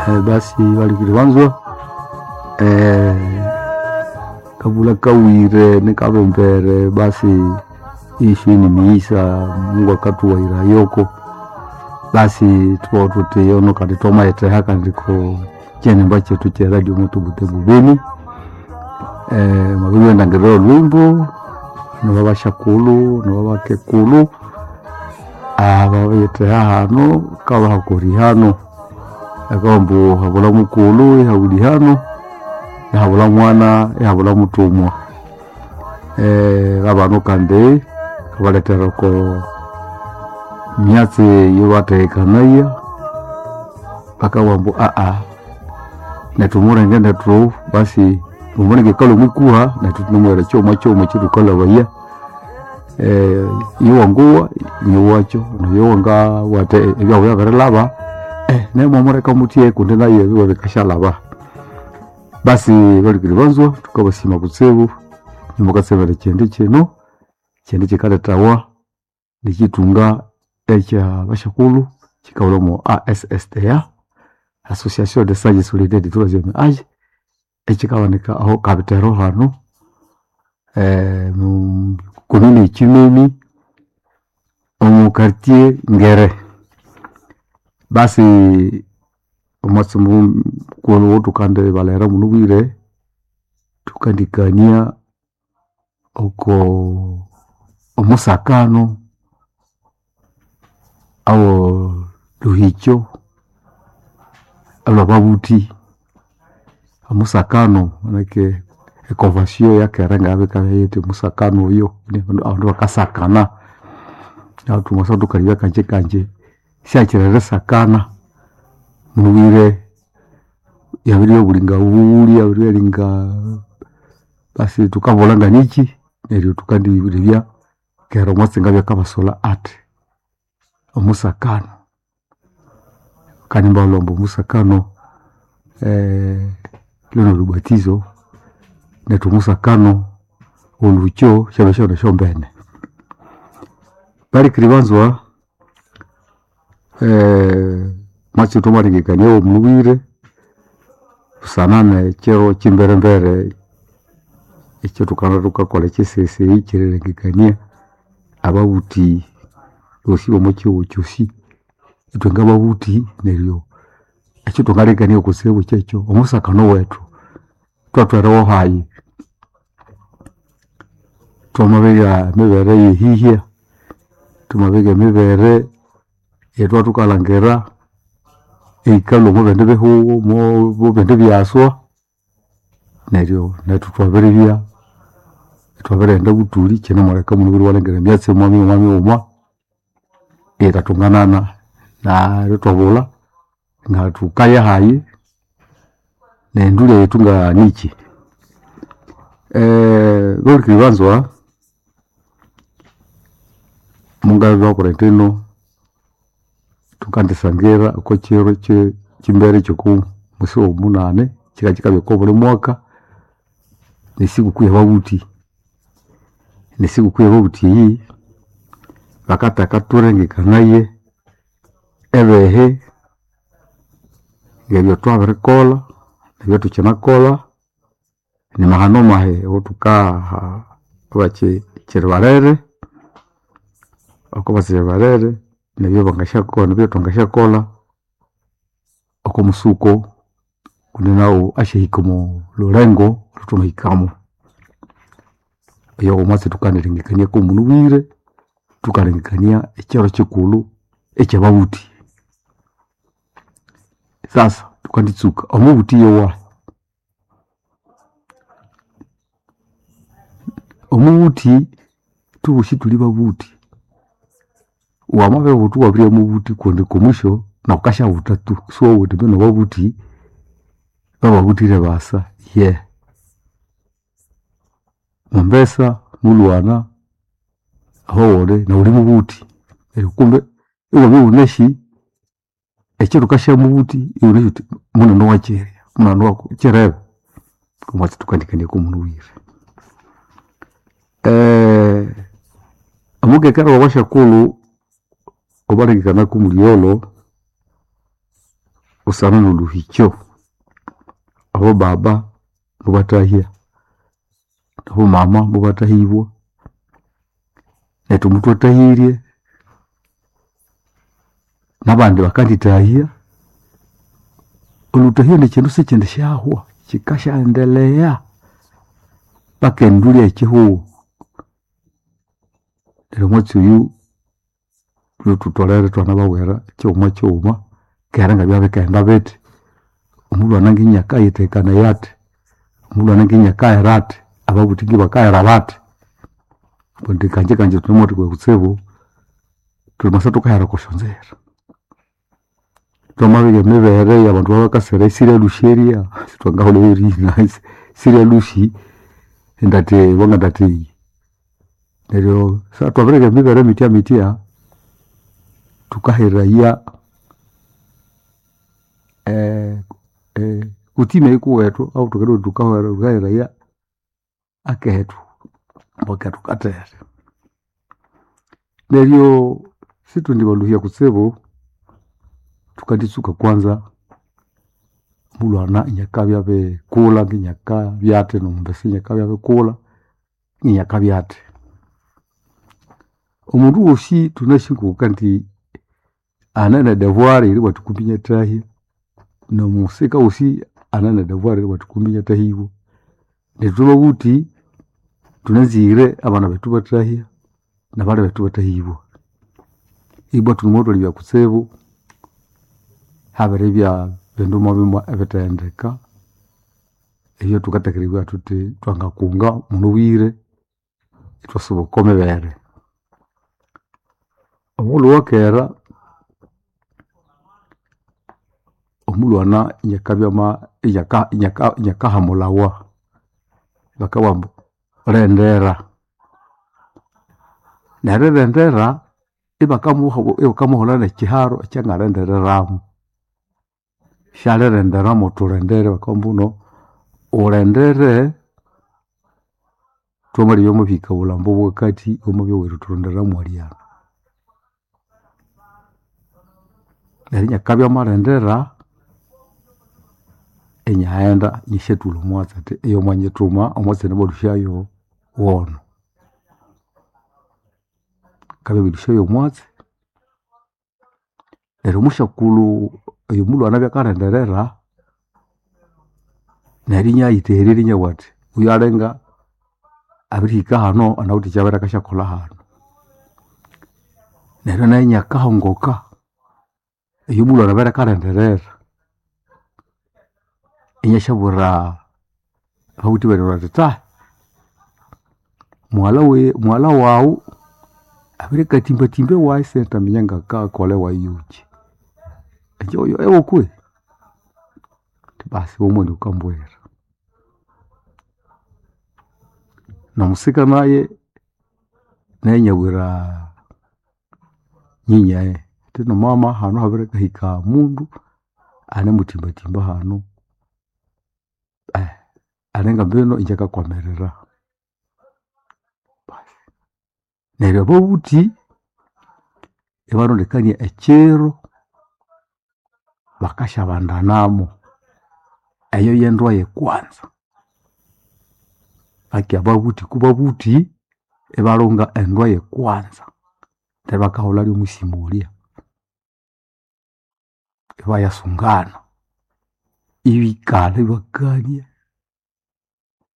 Basi balikiri banzwa kabula kawire nikabembere basi ishu ni miisa Mungu akatuwaira yoko basi tuba tutiyono kandi twamayitheha kandi ko kyenimba kyethu kye radio moto Butembo Beni. Mwabirighenda olhwimbo nibabasyakulhu nibabakekulhu ababitheha hano kabahakori hano akabugha ambu habulha mukulhu ihabulhi hano ihabulha mwana ihabulha muthumwa. Abanu kandi kabalethera oko myatsi eyabathekanaya bakabugha ambu nethu omulenge nethu basi omulenge akalhwa omwikuha nethu thunemughera kyighuma kyighuma ekyathukalhabaya. Iyowangowa niwakyo noyo athi ebyabu byabirilhaba nemwamuleka muthya kundi nayo ebiwe bikasyalhaba. Basi balikiri banzwa thukabasima kutsibu imukatsemera ekyindi kino ekyindi kyikalethawa nikyithunga ekya basyakulhu kyikahulha omo ASSDA, Association des Sages Solidaires du Troisieme Age, ekyikabanika aho Kabithero hano komini ye Kyimemi omu quartier Ngere. Basi omwatsi mukulhu owothukandi balheghera munobwire thukandikania oko omusakano awo lhuhikyo olhwababuthi, omusakano manake econvention eyakera ngayabikabya yithi omusakano oyo abandu bakasakana neryo thwamasa thukalebya kangyi kangyi syakiri erisakana munabwire yabiribya obulinga bughuli yabiribya linga basi thukabulha nganikyi neryo thukandilebya kera omwatsi ngabya akabasolha athi omusakano. Kandi ibabalhwa ambu omusakano lwenolhubatizo nethu omusakano olhukyo syabya syabana esyombene. Balikiri banzwa omwatsi thwamalengekania womunabwire busana nekyiro kyimberembere ekyathukanza thukakolha ekyisesi ekyerilengekania ababuthi bosi bomokyihugho kyosi ithwe ngababuthi neryo ekyathwangalengekania kutsibu kyekyo omusakano wethu thwathwerewo hayi. Twamabigha emibere eyehihya, thwamabigha emibere eyithwathukalhangira eyikalhwa omwabindi bihugho omwabindi byaswa neryo nethu thwabiribya ithwabirighenda buthuli kyinemuleka munabwire iwalhangira emyatsi mwamighuma mighuma eyithathunganana neryo ithwabulha ngathukaya hayi nendulya yethu nganikyi. Bahulikiriri banzwa mungabakora ithino thukandisangira okwakyiro kyimbere kyokomwesi womunani kyikakyikabya okobuli mwaka nesikuku yababuthi. Nesikuku yababuthi eyi bakatheka thulengekanaye ebihi ngebyathwabirikolha nebyathukinakolha nimahano mahi awathukaha abakyekiri balere okwabakyekiri balere nebyabangasyakolha nebyathwangasyakolha okwamusuko kundi naghu asyahika omolhulengo olhwathwamahikamo. Oyo womwatsi thukandirengekania komunabwire thukalengekania ekyiro kyikulhu ekyababuthi. Sasa thukanditsuka omubuthi yowahi? Omubuthi thuboosi thuli babuthi, wamabibutha iwabiribya mubuthi kundi okwa mwisho nawu wukasyabutha tu siwabugha wuthi mbino ababuthi bababuthire basa yehe. Mwambesa mulhwana ahowulhi nawu wuli mubuthi neryo kumbe iwabya iwunasi ekyithukasyagha mubuthi iwunasi wuthi munene wakyirya munene wakyirebe. Omwatsi thukandikania komunabwire. Omukekera wabasyakulhu obalengekana kumulhi olho. Busana nolhuhikyo, abobaba mubathahya, nabomama mubathahibwa, nethu muthwathahirye, nabandi bakandithahya. Olhuthahya nikyindu sikyindisyahwa, kyikasyaendelea paka endulya eyekihugho. Neryo omwatsi oyu thutholere ithwanababwira kyighuma kyighuma kera ngabya bikaghenda bithi. Omulhwana nginyakayithekanaya athi, omulhwana nginyakaghera athi, ababuthi ngibakaghera bathi. Kundi kangye kangye thunemuwathikaya kutsibu, thwamasa thukahera okwasyonzira. Twamabirya emibere eyabandu babakasira esirya lhusi erya, sithwangahulhayo erihina sirya lhusi endathi obo ngandathi eyi. Neryo sa thwabirigha emibere mityamitya, thukaheraya kutime eyikuwethu ahuthwanganabugha thuthi thukaheraya aketu ambu aketu kathere. Neryo sithwendibalhuhya kutsibu, thukanditsuka kwanza omulhwana inakabya abirikulha nginyakabya athi nomumbesa inakabya abirikulha inakabya athi. Omundu wosi thunasi ngokukandi ane nedevoir eribugha athi kumbi inyathahya nomusika wosi ane nedevoir eribugha athi kumbi inyathahibwa. Neryo ithwe babuthi thunanzire abana bethu ibathahya nabali bethu ibathahibwa. Ibwa thunemuthalebya kutsibu, habiribya bindu mwabimwe ebitheghendeka ebyathukatheka eribugha thuthi thwangakunga munabwire ithwasuba okwamibere. Omughulhu owakera, omulhwana inakabya ama inyaka inyakahamulhawa bakabugha ambu lhendera. Nerilhendera ibakamuha ibakamuholha nekyiharo ekyangalhendereramu. Syalilhendera mwithulhendere bakabugha ambuno wulhendere thwamalebya wamabirihika obulhambo obwakathi wamabya oweritulhenderera mwalyano. Neryo inakabya amalhendera inyaghenda inasyathulha omwatsi athi oyo mwanyithuma omwatsi nemalhusyayo wono. Akabya abirilhusyayo omwatsi, neryo omusyakulhu oyo omulhwana abya akalhenderera, neryo inyayiteghererya inabugha athi oyu alinga abirihika hanu anawithe ekyabere akasyakolha hanu. Neryo nayu inakahongoka eyo mulhwana abere akalhenderera. Inyasyabwira ababuthi bene athi tsahi mughalha weyi mughalha waghu abirikatimbatimba ewayi isindaminya ngakakolha ewayi yokyi. Inje oyo ewo kwihi? Basi iwamwandi wukambwira. Nomusika naye, naye inabwira nyinyaye athi mama hanu habirihika mundu anemutimbatimba hanu alinga mbinu inje akakwamirira. Basi neryo ababuthi ibarondekania ekyiro bakasyabandanamu. Eyo yendwa eyekwanza. Lakini ababuthi kubabuthi ibalhunga endwa eyekwanza neryo ibakahulha lyomusimulya. Ibayasungana, ibikalha ibakania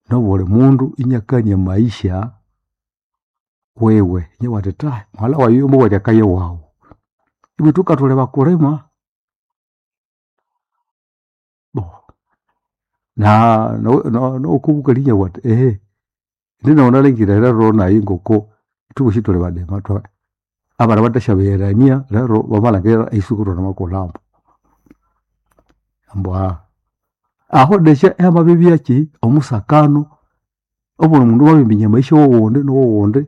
nobuli mundu inakania amaisha wiwe inabugha athi thahi mughalha wayi oyo mubughe athi akaya ewaghu. Ibwa ithwe ngathuli bakulima nowokobukali inabugha athi ehe indi nayi nalhangire lero nayi ngoko ithwebosi thuli badima abali bathasyabegherania lero bamalhangira iswe ngithunemukulhambo. Ambu aho desya ihamabibya omusakano obuli mundu mwabiriminya amaisha wowundi nowundi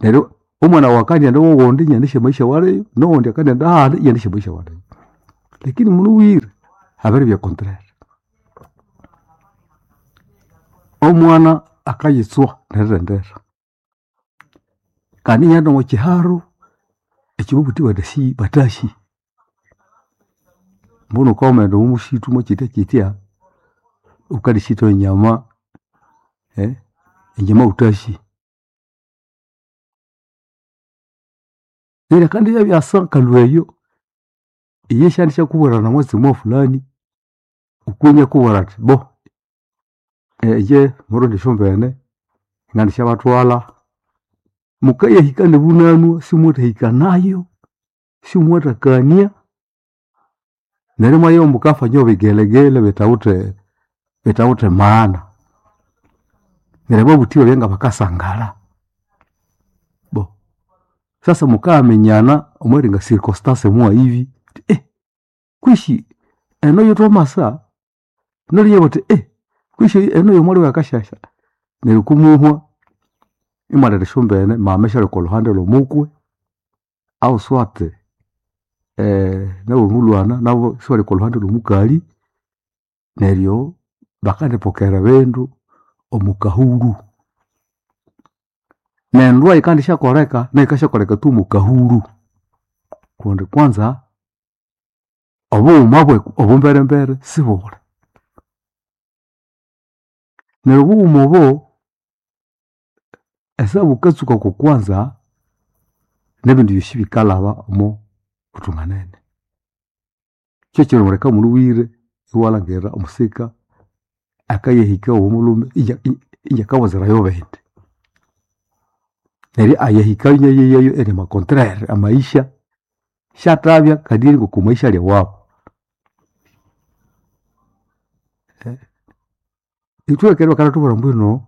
neryo omwana wawu akandighenda ewowundi inanasi amaisha awaliyo nowundi akandighenda ahandi inanasi amaisha awaliyo. Lakini munabwire habiribya contraire. Omwana akayitswa nerilhendera kandi inaghenda omwakyiharo ekyababuthi bathasi bathasi. Mbunu ukawamaghenda omo mushitu mwakyitya kyitya, wukandishitha enyama enyama wuthasi. Neryo akandibya byasa akalhwa eyo, iyo syandishyakubwira nomwatsi mwafulani, okwi inakubwira athi bo inje murundi esyombene ngandisyabathwalha. Mukayahika nobunanwa simwathahika nayo, simwathakania, neryo imwabya mukafanya bigelegele bithawithe bithawithe maana. Neryo ababuthi babya ngabakasangala. Bo sasa mukayaminyana omweringa circonstance mwahibi wuthi kwihi eno yothwamasa neryo inabugha athi kwihi eno yomwali wakasyasya. Neryo kumuhwa imwaleta esyombene mama isyalya okolhuhandi lhomukwe ahu swate nabomulhwana nabu isibalya okolhuhandi lhomukali neryo bakandipokera ebindu omwakahulhu. Nendwa yikandisyakoleka nayu yikasyakoleka tu omwakahulhu kundi kwanza obughuma obumberembere sibuli. Neryo obughuma obo esaha bukatsuka okwa kwanza nebindi byosi bikalhaba omo buthunganene. Kyekyiro muleka mulhubwire iwalhangira omusika akayahika owomulhume inakawazirayo bindi. Neryo ayahikayo inayeyayo indi amacontraire amaisha syathabya kadiri ngoko maisha ali ewabu. Ithwe ekera bakathuthubwira ambu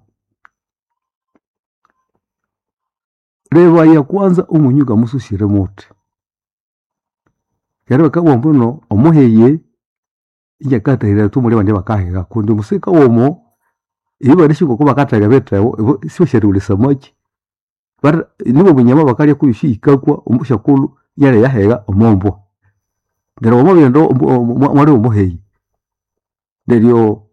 lebaya kwanza omunyu ngamususire muthi. Kera bakabugha ambu omuheghe inakatahiraya tu muli abandi abakahegha kundi omusika womo ibo banasi ngokubakathega ebithebo ibo sibasyathahulya esamaki. Nibo obunyama bakalya kuyosi yikakwa omusyakulhu inalya eyahegha omombwa. Neryo wamabirighenda omwali womuheyi neryo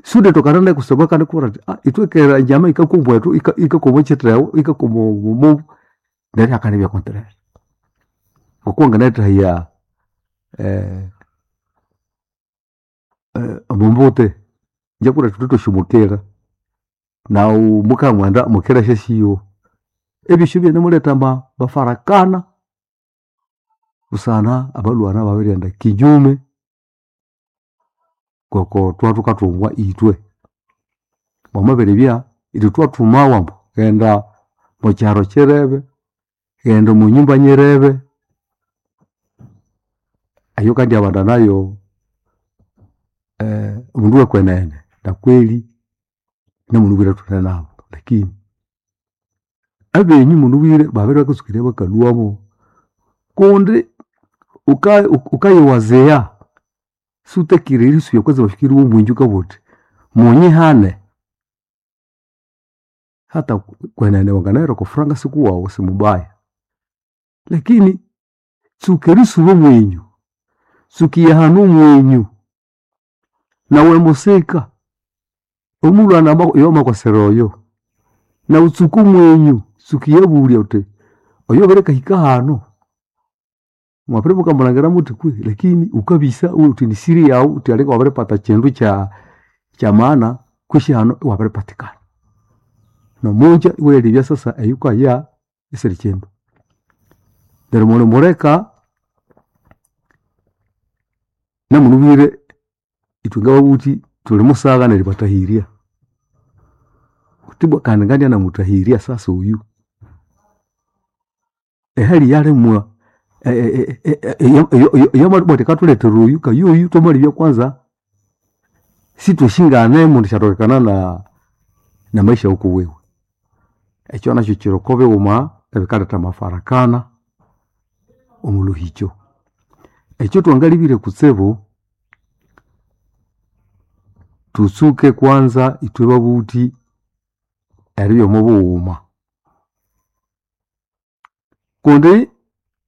sighulitokana nayu kusangwa akandikubwira athi ithwe kera enyama yikakwa ombwethu yikakwa omwakyithebo yikakwa omo neryo ihakandibya contraire. Ngokuwanginathahaya omumbute, ingye kuli ithwe thwasi omukira naghu mukamwenda omukira asyasiwa. Ebyosi byanamuletha amafarakana busana abalhwana ibabirighenda kinyume ngoko thwathukathungwa ithwe. Mwamabiribya ithwe thwathumawa ambu ghenda omwakyiharo kyirebe, ghenda omwanyumba nyirebe, eyo wukandiyabana nayo omundu wekwenene nakweli namulhubwire thunenabu lakini abenyu mulhubwire babere bakatsuka eribya bakalhwamo kundi wukayiwazigha siwutakire erisubya kwanza bafikiri womwinji wukabugha wuthi munyihane. Hata kwenene wanginahera okwafuranga sikuwawu simubaya lakini tsuka erisuba omwenyu, tsuka erihana omwenyu nawe musika omulhwana oyo wamakwasira oyo naghu tsuka omwenyu, tsuka eriyabulya wuthi oyo abirikahika hanu mwabiribya mukamulhangira muthi kwihi lakini wukabisa iwabugha wuthi nisiri yaghu wuthi alinga wabiripata kyindu kyamaana kwihi hanu iwabiripatikana. Nomungya iwayalebya sasa eyawukaya isiri kyindu. Neryo mulimuleka namulhubwire ithwe ngababuthi thulimusagha neribathahirya. Wuthi ibwa kandi ngandibya namuthahiria sasa oyu. Ehali eyalimwa eyamabugha athi akathuletera oyu kayoyu thwamalebya kwanza sithwasinganemu endisyathokekana namaisha wukuwiwe. Ekyo nakyu kyiri okwabighuma ebikaletha amafarakana omwalhuhikyo. Ekyathwangalebire kutsibu, thutsuke kwanza ithwe babuthi eribya omobughuma. Kundi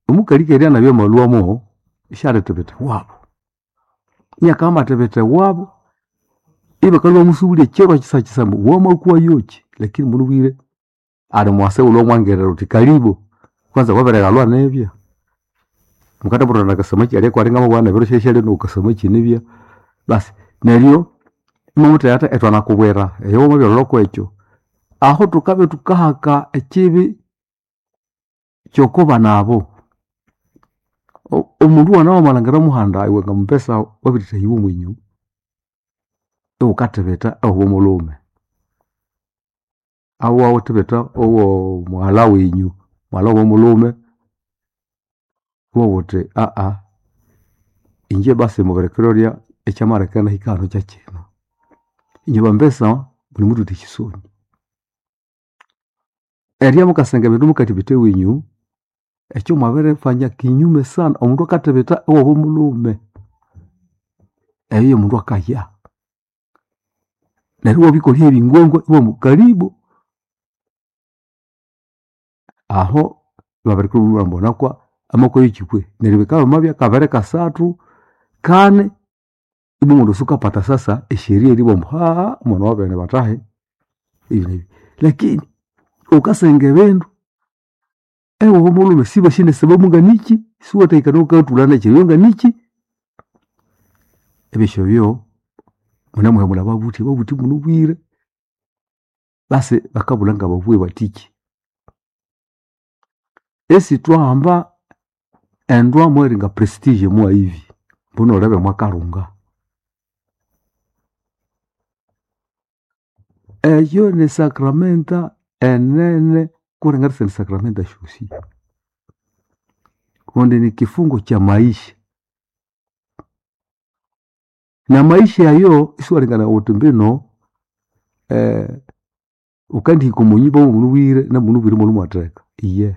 omukali keri anabya amalhwamo isyalithibitha ewabu. Inakabya amathibitha ewabu ibakalhwa ibamusubulya kyiro kyisakyisa ambu wamakwayoki lakini mulhubwire ali mwase oghulhwe wamwangirira wuthi kalibu kwanza wabirighalhwa nibya. Mukathaburana nakasamaki alya kwali ngamabugha ebiro syasyalya nokukasamaki nibya. Basi neryo imwamuthegha athi ithwanakubwira eyo wamabyalholha kwekyo. Aho thukabya thukahaka ekibi kyokobana abo. Omundu wana wamalhangira muhanda iwe ngamumbesa wabirithahibwa omwinyu, iwukathibitha owo mulhume. Aho iwathibitha owo mughalha wenyu, mughalha womulhume, iwabugha wuthi inje basi mubirikiro lya ekyamaleka inahika hanu kyekyino. Inywe bambesa munemuthutha esyisoni. Eribya mukasenga ebindu mukathibitha ewenyu, ekyo mwabirifanya kinyume sana. Omundu akathibitha ewabo mulhume, eyo yomundu akaya. Neryo iwabikolha hyebingwangwa ibabugha ambu karibu. Aho ibabirikibugha ambu nakwa amakwayo kyi kwei. Neryo bikabya byamabya kabiri kasathu kani, ibwa omundu sukapata sasa esheria eribugha ambu omwana wabene bathahi ebi nebi. Lakini wukasenga ebindu ewabo mulhume sibasi nesababu nganikyi, siwathahikana wukayathulha nekyi nganikyi. Ebyosi ebyo munemuhemulha ababuthi, ababuthi munabwire basi bakabulha ngababughe bathiki. Isithwahamba endwa mweringa prestige mwahivi mbunu olebe mwakalhunga. Eyo ni sacramenta enene kuringa esindi sacramenta esyosi kundi nikifungo kyamaisha. Namaisha ayo isiwalengekanaya wuthi mbino wukandihika omwanyumba yomunabwire namunabwire imwalwa mwatheka iyihe.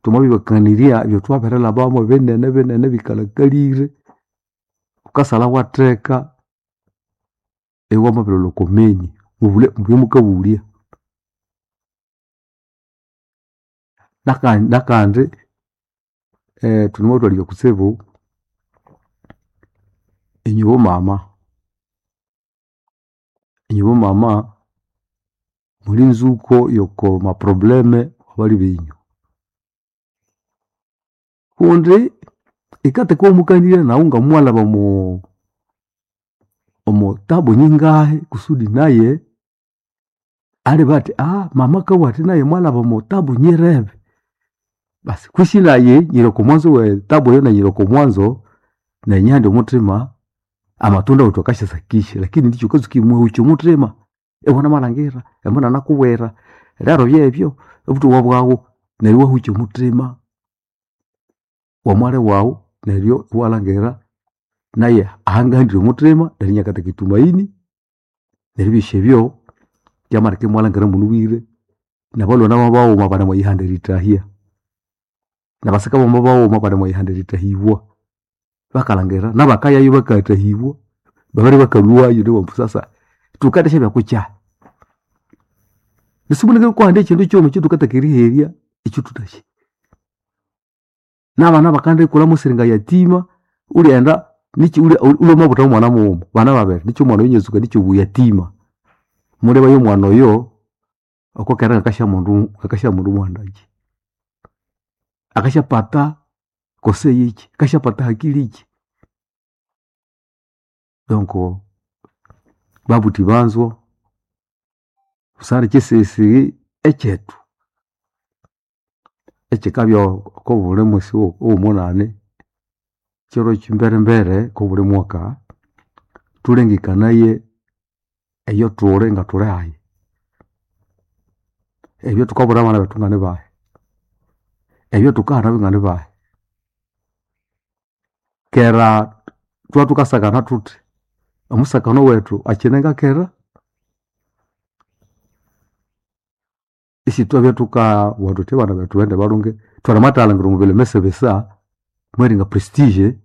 Thwamabibakanirya ebyathwabirilhabamu binene binene ebikalhakalire, wukasalha watheka iwamabirilhwa okwameni mubulye ebyamukabulya. Nakandi thunemubathalibya kutsibu inywe bomama, inywe bomama muli nzuko yoko maprobleme abalhi benyu. Kundi yikathekawa iwamukanirya naghu ngamwalhaba omo omotabu nyingahi kusudi naye alibugha athi mama akabugha athi naye mwalhaba omotabu nyirebe. Basi kwisi nayi nyiri okomwanzo wetabu eyo nayi nyiri okomwanzo nayi nyihande omuthima amatunda wethu akasyasakisya lakini ndikyi wukatsuka erimuhukya omuthima iwunamalhangira amunanakubwira lero byebyo obuthuku bwaghu neryo iwahukya omuthima womwali waghu neryo iwalhangira naye ahangahandire omuthima neryo inakatheka itumaini neryo ebyosi ebyo byamaleka imwalhangira munabwire nabalhwana baghuma banemwiyihanda erithahya. Nabasika bamabaghuma banemwiyihanda erithahibwa. Bakalhangira nabakayayo bakayathahibwa babere bakalhwayo neryo ibabugha ambu sasa thukendisyabya kukyahi. Nesibulenge kuhandi ekyindu kyighuma ekyathukatheka eriherya ekyathuthasi. Nabana bakandikulha musiringa yatima ulyaghenda nikyi ulya wamabutha mwana mughuma bana babiri nikyi omwana oyo inatsuka nikyi obuyatima. Mulebaye omwana oyo okwakera ngakasyamundu muhandakyi. Akasyapata kose yikyi, akasyapata hakili kyi. Donc babuthi banzwa busana ekyisighisighi ekyethu ekyikabya okobuli mwesi owomunani kyiro kyimberembere kobuli mwaka, thulengekanaye eyothuli ngathuli hayi. Ebyathukabwira abana bethu nganibahi, ebyathukahana nganibahi. Kera thwathukasakana thuthi, omusakano wethu akyine ngakera? Isithwabya thukabugha thuthi abana bethu baghende balhunge thwanamathalhangira omwa bileme bisa mweringa prestige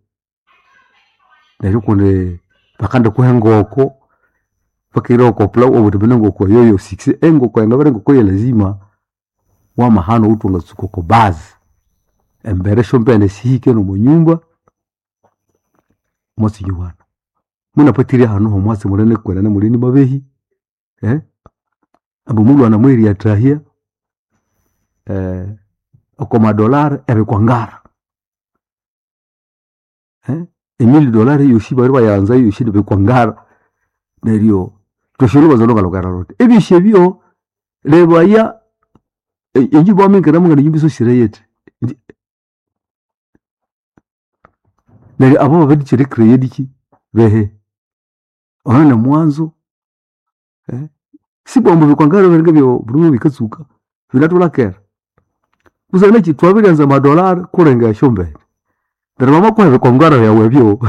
neryo kundi bakandikuha engoko bakahira yoko pilau iwabugha wuthi mbino engoko eyo yo success. Engoko yangabya engoko yelazima wamahano owuthi wangatsuka oko base. Embere syombene sihike nomwanyumba mwatsi inywebana. Munapathirye hanu homwatsi munene kwenene muli nimabehi ambu mulhwana mweriyathahya oko madollar ebikwangara. Emili dolari yosi bali bayanza yosi nibikwangara neryo twashilubaza lwangalukera luthi ebyosi ebyo lebaya enjumba wamingiramu ngane nyumba isosire yithi. Neryo abo babirikyira ecredit behe ono ni mwanzo sibwambu bikwangara biringa byo buli bikatsuka binatulakera busana neki twabiryanza amadolari kulenga esyombene neryo bamakuha ebikwangara byawu ebyo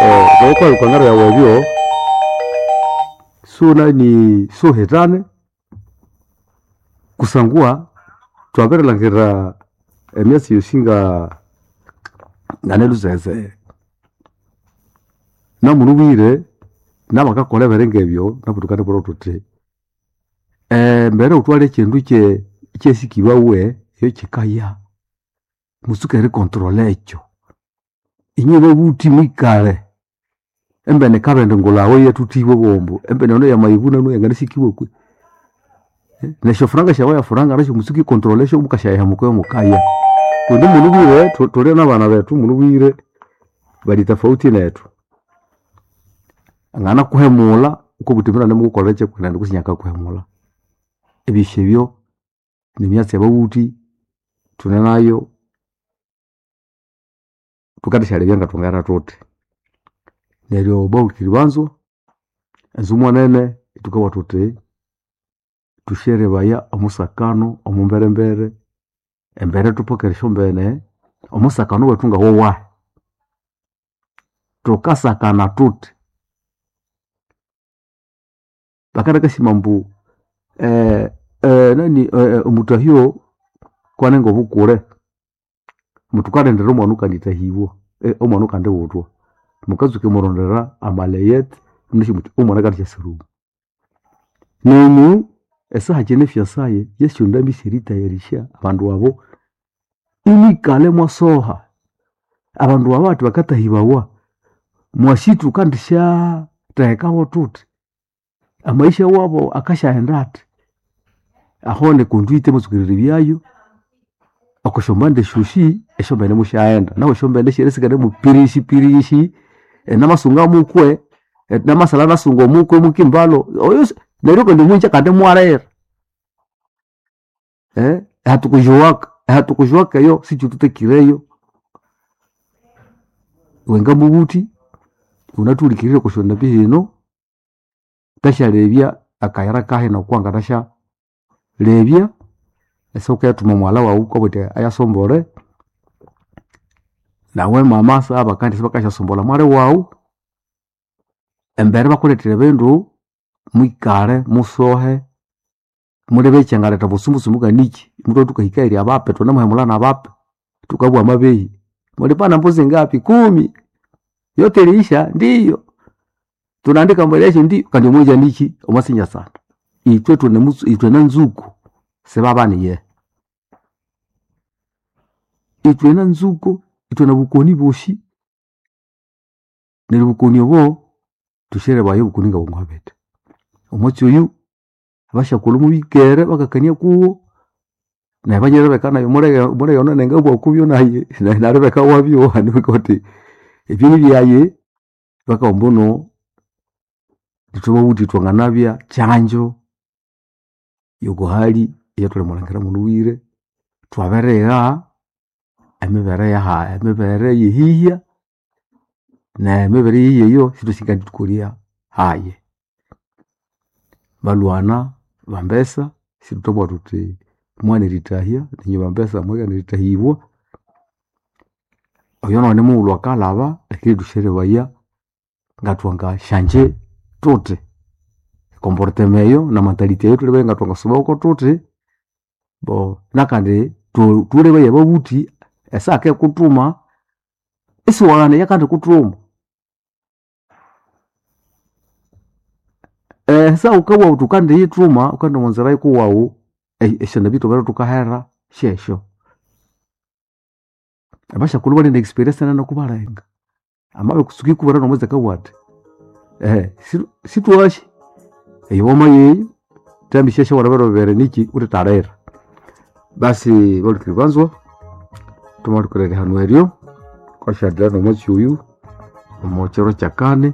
bamakuha ebikwangara byawu ebyo sunani suhitane kusangwa twabirilhangira emyatsi yosi nga nganelhusese namulhubwire nabakakolha ebiringa ebyo nabu thukanibwira thuthi embere wuthwalhe ekyindu kyesikibawe ekyo kyikaya mutsuke ericontrola ekyo. Inywe babuthi mwikale embene kabindi ngulhawe iyathuthiwe bwombo embene eno yamaghibuna yanganasikibwa kwe nesyofuranga syawu eyafuranga nasyo mutsuke ericontrola esyo mukasyayihamuka mukaya. Kundi mulhubwire thuli nabana bethu mulhubwire bali tofauti nethu. Anganakuhemulha wukabuwa wuthi mbino anemukukolera kyekwenene kutse inakakuhemulha. Ebyosi ebyo nimyatsi eyababuthi thune nayo thukandisyalebya ngathwangaghenda thuthi. Neryo bahulikiriri banzwa enzumwa nene thukabugha thuthi thusyerebaya omusakano omwamberembere embere thupokere esyombene omusakano wethu ngawowahi. Thukasakana thuthi bakanakasima ambu omutahyo kwanenga obukule muthukalindira omwana oyukandithahibwa omwana oyukandibuthwa mukatsuka erimurondera amaleyete imunasi muthi omwana akandisyasuruma. Nenyũ esaha kine fyansaye yesyondambi syerithayarisya abandu abo imwikalha imwasoha abandu aba athi bakathahibawa mwasi thukandisyathekawo thuthi amaisha wabo akasyaghenda athi aho niconduite mwatsuka erirebyayo okwasyombande syosi esyombene musyaghenda nahu esyombene syerisigara mupirishi pirishi namasunga mukwe namasalha nasunga omukwe mukimbalho oyo neryo kandi omwinja kandi imwalira hathukujowaka hathukujowaka eyo sikyithutekireyo. Iwe ngamubuthi wunathuhulikirire okwa hino thasyalebya akayira kahino okwanganasya lebya ese wukayathuma mughalha wawu wukabugha wuthi ayasombole nawe mama sabakandi sibakasyasombolha mwali wawu embere bakulethera ebindu mwikale musohe mulebe ekyangaletha obusumbusumbu nganiki muthwa thukahika eyiri abape thunemuhemulha nabape thukabugha amabehi mulipana mbuzi ngapi kumi yote iliisha ndiyo tunaandika mbele yesyo ndiyo kandi omwinja niki omwasinyasana ithwe ithwe nanzuku sibabaniye ithwe nanzuku ithwe nobukoni bosi neryo obukoni obo thusyerebayo obukoni ngabwangabete. Omwatsi oyu abasyakulhu mubikere bakakania kuwo nabanyalebeka nayi mulege ono nangabugha kubyo nayi nalebeka wabyo wuthi ebyo nibyayi bakabugha ambuno ithwe babuthi thwanganabya kyanjo yokuhali eyathulimulhangira mulhughire thwabirigha emibere yaha emibere eyehihya nemibere eyehihya eyo sithwasi ngandithukolya hayi. Balhwana bambesa sithwabugha thuthi mwaghana erithahya nenywe bambesa mwaghana erithahibwa oyo nawu nimughulhu akalhaba lakini thusyerebaya ngathwangasyangye thuthi ecomportement eyo na mentality eyo thulebye ngathwangasubako thuthi bo nakandi thulebaye ababuthi esaha akikuthuma isiwaghana eyakandikuthuma. Esaha wukabugha wuthi wukandiyithuma wukandiwunzira yikuwawu esyondambi thubere thukahera syesyo. Abasyakulhu bali ne experience nene kubalenga amabikutsuka ikubwira nomwezi akabugha athi sithwasi eyo wamayeyo thambisya syawulha biro bibiri niki wuthethalira. Basi bahulikiriri banzwa thwamalhuka erihano eryo. Tukasyathira n'omwatsi oyu omo kiro kyakani.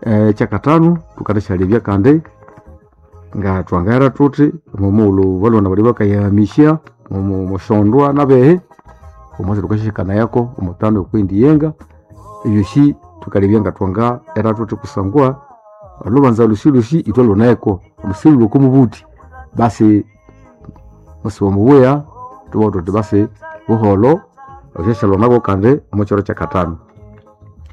Ekyakatanu thukandisyalebya kandi nga twangaghera thuthi omo mughulhu balhwana balya bakayihamisya omo mosyondwa nabehi, omwatsi thukasyakanayako omutano okwiyindi yenga. Ebyosi thukalebya nga twangahera thuthi kusangwa olhubanza lhosi lhosi ithwe luneko silhulwe oko mubuthi. Basi musiba mubuya thubugha thuthi basi buholho, thwasyasyalanako kandi omo kiro kyakatanu.